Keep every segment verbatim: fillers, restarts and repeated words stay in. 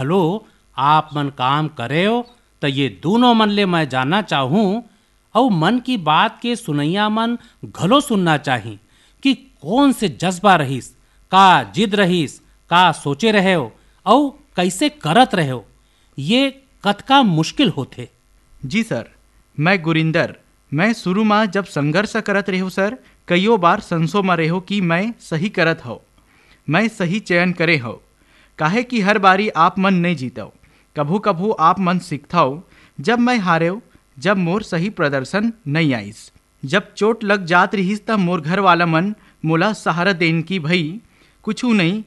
घलो आप मन काम करेव, त ये दूनों मन ले मैं जानना चाहूँ, अउ मन की बात के सुनइया मन घलो सुनना चाही कि कौन से जज्बा रहिस, का जिद रहिस, का सोचे रहेव, अउ कइसे करत रहेव, ये कतका मुश्किल होथे। जी सर, मैं गुरिंदर। मैं शुरू म जब संघर्ष करत रेहेव सर, कइयो बार संसो म रेहेव कि मैं सही करत हव, मैं सही चयन करे हव, काहे कि हर बारी आप मन नइ जीतव। कभू-कभू आप मन सीखथव, जब मैं हारेव, जब मोर सही प्रदर्शन नइ आइस। जब चोट लग जात रिहिस, त मोर घर वाला मन मोला सहारा देन कि भई, कुछू नइ,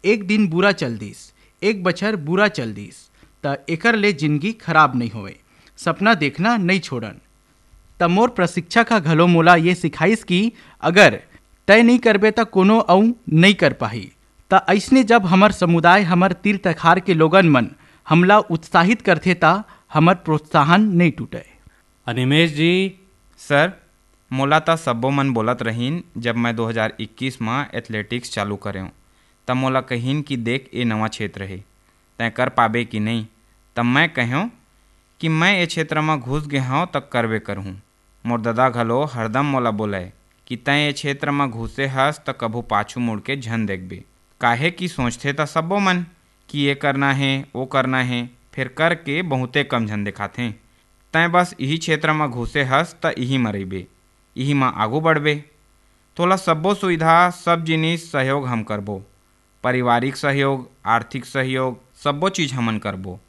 एक दिन बुरा चल दिस, एक बछर बुरा चल दिस, त एकर ले जिनगी खराब नइ होवय। सपना देखना नइ छोड़न। त मोर प्रशिक्षक ह घलो मोला ये सिखाइस कि अगर तय नइ करबे, त कोनो अउ नइ कर पाही। त अइसने जब हमर समुदाय, हमर तीर तखार के लोगन मन हमला उत्साहित करथे, त हमर प्रोत्साहन नइ टूटय। अनिमेश जी। सर, मोला त सब्बो मन बोलत रहिन, जब मैं दो हज़ार इक्कीस म एथलेटिक्स चालू करेंव, त मोला कहिन कि देख, ए नवा क्षेत्र हे, तैं कर पाबे कि नइ? त मैं कहेंव कि मैं ए क्षेत्र म घुस गे हंव, त करबे करहूं। मोर ददा घलो हरदम मोला बोलय कि तैं ए क्षेत्र म घुसे हस, त कभू पाछू मुड़ के झन देखबे, काहे कि सोचथे त सब्बो मन कि ए करना हे, ओ करना हे, फेर करके बहुते कम झन देखाथें। तैं बस इही क्षेत्र म घुसे हस, त इही म रहिबे, इही म आगू बढ़बे। तोला सब्बो सुविधा, सब जिनिस, सहयोग हम करबो। पारिवारिक सहयोग, आर्थिक सहयोग, सब्बो चीज हमन करबो।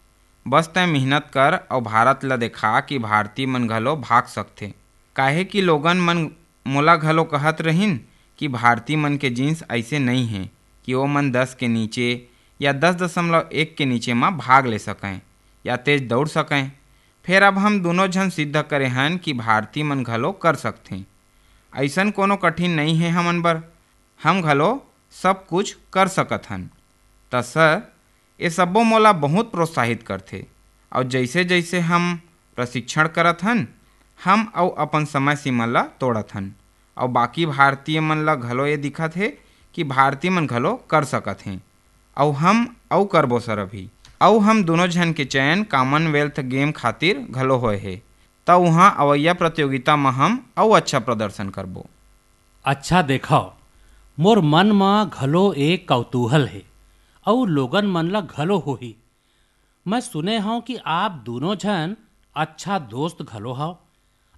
बस तैं मेहनत कर अउ भारत ल देखा कि भारतीय मन घलो भाग सकथे। काहे कि लोगन मन मोला घलो कहत रहिन कि भारतीय मन के जींस अइसे नइ हे कि ओ मन दस के नीचे या दस दशमलव एक के नीचे म भाग ले सकंय या तेज दउड़ सकंय। फेर अब हम दूनों झन सिद्ध करे हन कि भारतीय मन घलो कर सकथें। अइसन कोनो कठिन नइ हे हमन बर, हम घलो सब कुछ कर सकत हन। त सर, ए सब्बो मोला बहुत प्रोत्साहित करथे, अउ जइसे-जइसे हम प्रशिक्षण करत हन, हम अउ अपन समय सीमा ल तोड़त हन, अउ बाकी भारतीय मन ल घलो ए दिखत हे कि भारतीय मन घलो कर सकत हें, अउ हम अउ करबो सर अभी। अउ हम दूनों झन के चयन कॉमनवेल्थ गेम खातिर घलो होए हे, त उहाँ अवइया प्रतियोगिता म हम अउ अच्छा प्रदर्शन करबो। अच्छा देखव, मोर मन म घलो एक कौतूहल हे, अउ लोगन मन ल घलो होही। मैं सुने हंव कि आप दूनों झन अच्छा दोस्त घलो हव।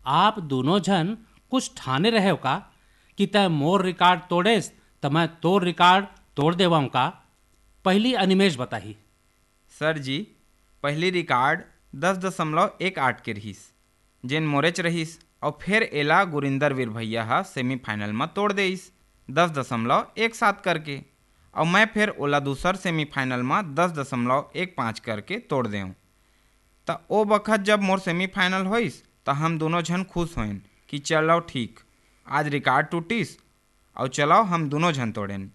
आप दूनों झन कुछ ठाने रहेव का कि तैं मोर रिकॉर्ड तोड़ेस, त मैं तोर रिकॉर्ड तोड़ देवंव का? पहिली अनिमेश बताही। सर जी, पहिली रिकॉर्ड दस दशमलव एक आठ के रिहिस, जेन मोरेच रहिस, अउ फेर एला गुरिंदर वीर भैया ह सेमीफाइनल म तोड़ देइस, दस दशमलव एक सात करके, अउ मैं फेर ओला दूसर सेमीफाइनल म दस दशमलव एक पाँच करके तोड़ देंव। त ओ बखत जब मोर सेमीफाइनल होइस, त हम दूनों झन खुश होएन कि चलव ठीक, आज रिकॉर्ड टूटिस, अउ चलव हम दूनों झन तोड़ेन,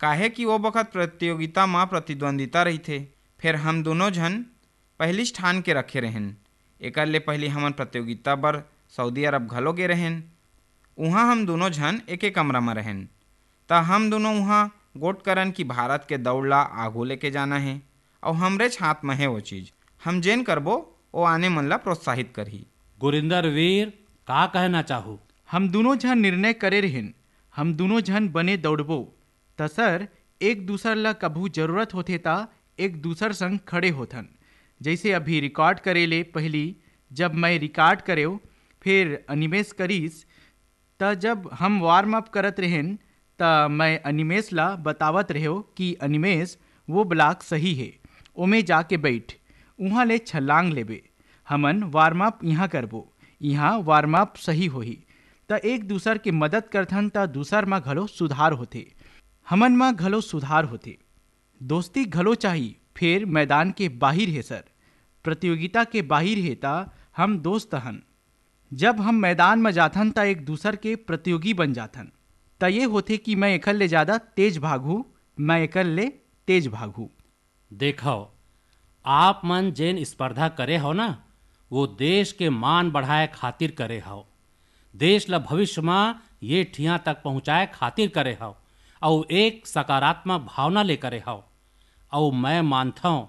काहे कि ओ बखत प्रतियोगिता म प्रतिद्वंदिता रहिथे। फेर हम दूनों झन पहिलीच ठान के रखे रहेन। एकर ले पहिली हमन प्रतियोगिता बर सऊदी अरब घलो गे रहेन। उहाँ हम दूनों झन एके कमरा म रहेन। त हम दूनों उहाँ गोठ करन कि भारत के दउड़ ला आगू लेके जाना हे, अउ हमरेच हाथ म हे ओ चीज। हम जेन करबो, ओ आने मन ला प्रोत्साहित करही। गुरिंदर वीर, का कहना चाहू? हम दूनों झन निर्णय करे रहेन, हम दूनों झन बने दउड़बो। त सर, एक दूसर ल कभू जरूरत होथे त एक दूसर संग खड़े होथन। जइसे अभी रिकॉर्ड करे ले पहिली जब मैं रिकॉर्ड करेव, फेर अनिमेश करिस, त जब हम वार्म अप करत रहेन, त मैं अनिमेश ल बतावत रहेव कि अनिमेश, वो ब्लॉक सही हे, ओमे जाके बइठ, उहाँ ले छलांग लेबे। हमन वार्म अप इहाँ करबो, इहाँ वार्म अप सही होही। त एक दूसर के मदद करथन, त दूसर म घलो सुधार होथे, हमन म घलो सुधार होथे। दोस्ती घलो चाही, फेर मैदान के बाहिर हे सर, प्रतियोगिता के बाहिर हे, त हम दोस्त हन। जब हम मैदान म जाथन, त एक दूसर के प्रतियोगी बन जाथन। त ये होथे कि मैं एकर ले जादा तेज भागहूँ, मैं एकर ले तेज भागहूँ। देखव, आप मन जेन स्पर्धा करे हव ना, वो देश के मान बढ़ाए खातिर करे हव, देश ल भविष्य म ये ठिया तक पहुँचाए खातिर करे हव, अउ एक सकारात्मक भावना ले करे हव। अउ मैं मानथंव